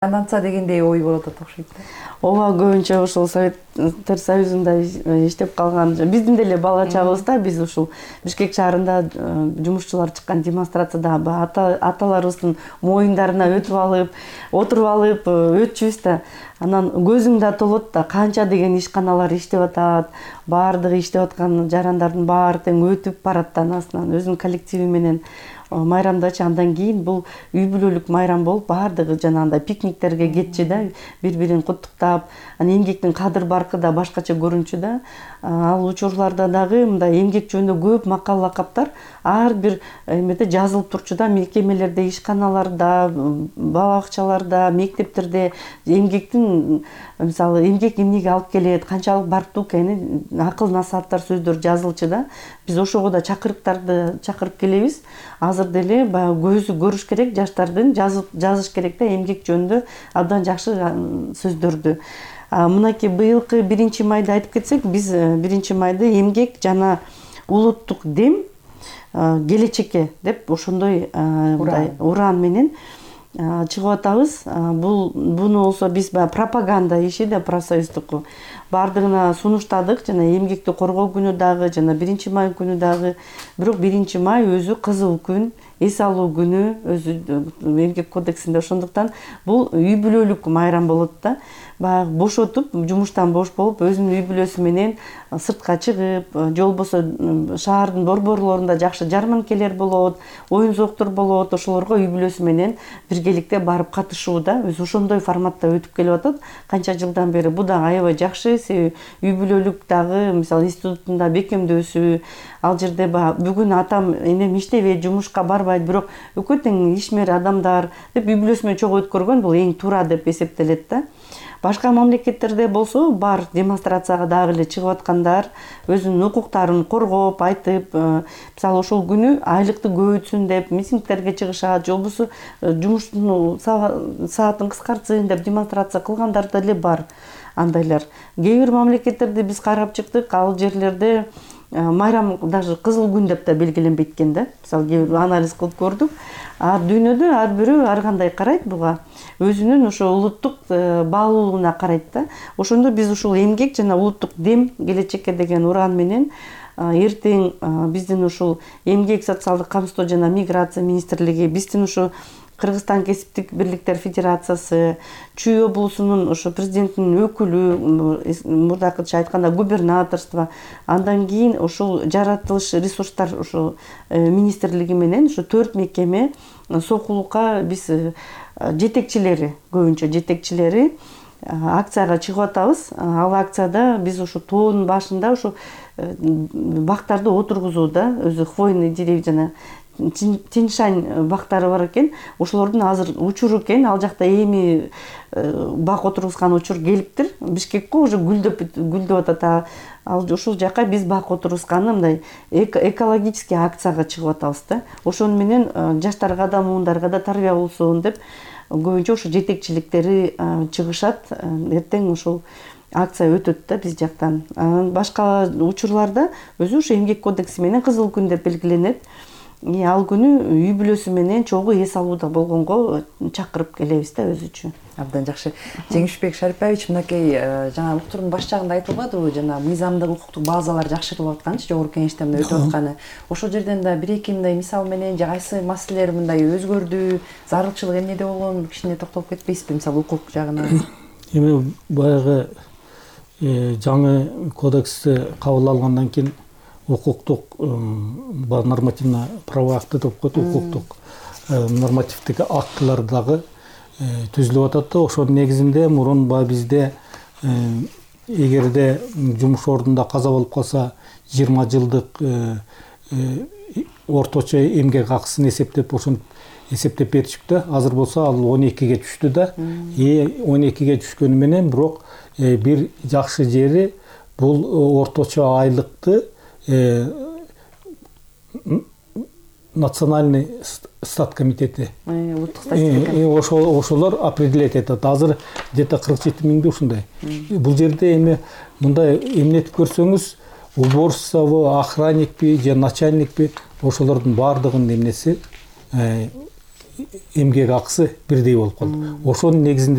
Айланса дегендей ой болот окшойт да. Ооба, көбүнчө ушул Советтер Союзунда иштеп калган, биздин деле бала чагыбызда биз ушул Бишкек шаарында жумушчулар чыккан демонстрацияда аталарыбыздын моюндарына отуруп алып өтчүбүз да. Анан көзүң да толот да, канча деген ишканалар иштеп атат, баардыгы иштеп аткан жарандардын баары тең өтүп барат да анасынан өзүнүн коллективи менен майрамдачы. Андан кийин бул үй бүлөлүк майрам болуп, баардыгы жанагындай пикниктерге кетчү да, бири-бирин куттуктап, анан эмгектин кадыр баркы да башкача көрүнчү да. Ал учурларда дагы мындай эмгек жөнүндө көп макал лакаптар ар бир эмеде жазылып турчу да, мекемелерде, ишканаларда, бала бакчаларда, мектептерде эмгектин, мисалы, эмгек эмнеге алып келет, канчалык барктуу экени акыл насааттар сөздөр жазылчу да. Биз ошого да чакырыктарды чакырып келебиз. Азыр деле баягы көзү көрүш керек жаштардын, жазыш керек да эмгек жөнүндө абдан жакшы сөздөрдү. Мынакей быйылкы 1 майды айтып кетсек, биз 1 майды эмгек жана улуттук дем келечекке деп ошондой уран менен чыгып атабыз. Буну болсо биз пропаганда иши да профсоюздуку баардыгына сунуштадык, жана эмгекти коргоо күнү дагы, жана 1 май күнү дагы. Бирок 1 май өзү кызыл күн, эс алуу күнү өзү эмгек кодексинде. Ошондуктан бул үй бүлөлүк майрам болот да. Баягы бошотуп, жумуштан бош болуп, өзүнүн үй бүлөсү менен сыртка чыгып, же болбосо шаардын борборлорунда жакшы жарманкелер болот, оюн зооктор болот, ошолорго үй бүлөсү менен биргеликте барып катышуу да, өзү ошондой форматта өтүп келип атат канча жылдан бери. Бул дагы аябай жакшы, себеби үй бүлөлүк дагы, мисалы, институттунда бекемдөөсү, ал жерде бүгүн атам энем иштебейт, жумушка барбайт, бирок экөө тең ишмер адамдар деп үй бүлөсү менен чогуу өткөргөн бул эң туура деп эсептелет да. Башка мамлекеттерде болсо бар демонстрацияга дагы эле чыгып аткандар, өзүнүн укуктарын коргоп, айтып, мисалы, ошол күнү айлыкты көбөйтсүн деп митингтерге чыгышат, же болбосо жумуштун саатын кыскартсын деп демонстрация кылгандар деле бар андайлар. Кээ бир мамлекеттерди биз карап чыктык, ал жерлерде майрам даже кызыл күн деп да белгиленбейт экен да. Мисалы, кээ бир анализ кылып көрдүк. Дүйнөдө ар бирөө ар кандай карайт буга. Өзүнүн ошо улуттук баалуулугуна карайт да. Ошондо биз ушул эмгек жана улуттук дем келечекке деген уран менен эртең биздин ушул эмгек, социалдык камсыздоо жана миграция министрлиги, биздин ушу Кыргызстан кесиптик бирликтер федерациясы, Чүй облусунун ошо президенттин өкүлү, мурдакыча айтканда губернаторство, андан кийин ушул жаратылыш ресурстар ошо министрлиги менен ушу 4 мекеме сокулукка биз жетекчилери, көбүнчө жетекчилери акцияга чыгып атабыз. Ал акцияда биз ушу тоонун башында ушу бактарды отургузууда, өзү хвойный деревья жана тиньшань бактары бар экен. Ошолордун азыр учуру экен. Ал жакта эми бак отургузган учур келиптир. Бишкекке уже гүлдөп атат. Ал ушул жака биз бак отургузганы мындай экологический акцияга чыгып атабыз да. Ошону менен жаштарга да, муундарга да тарбия болсун деп көбүнчө ушу жетекчиликтери чыгышат. Эртең ушул акция өтөт да биз жактан. Башка учурларда өзү ушу эмгек кодекси менен кызыл күн деп белгиленет. Ал күнү үй бүлөсү менен чогуу эс алууда болгонго чакырып келебиз да өзүчө. Абдан жакшы. Жеңишбек Шарипович, мынакей жана уктурдун баш жагында айтылбадыбы, жана мыйзамдык укуктук базалар жакшыртылып атканчы, жогорку кеңештен өтүп атканы. Ошол жерден да 1-2 мындай мисал менен же кайсы маселелер мындай өзгөрдү, зарылчылык эмнеде болгон, кичине токтолуп кетпейсизби, мисалы, укук жагына? Эми баягы жаңы кодексти кабыл алгандан кийин укуктук нормативно правовой акты деп коет, укуктук нормативдик актылар дагы түзүлүп атат да. Ошонун негизинде мурун бизде эгерде жумуш ордунда каза болуп калса 20 жылдык орточо эмгек акысын эсептеп, ошону эсептеп беришип да. Азыр болсо ал 12ге түштү да. 12ге түшкөнү менен бирок бир жакшы жери бул орточо айлыкты национальный стат комитети, ошолор определять этет. Азыр где-то 47 миңди ушундай. Бул жерде эми мындай эмнетип көрсөңүз, уборщицабы, охранникпи же начальникпи, ошолордун баардыгынын эмнеси эмгек акысы бирдей болуп калды. Ошонун негизинде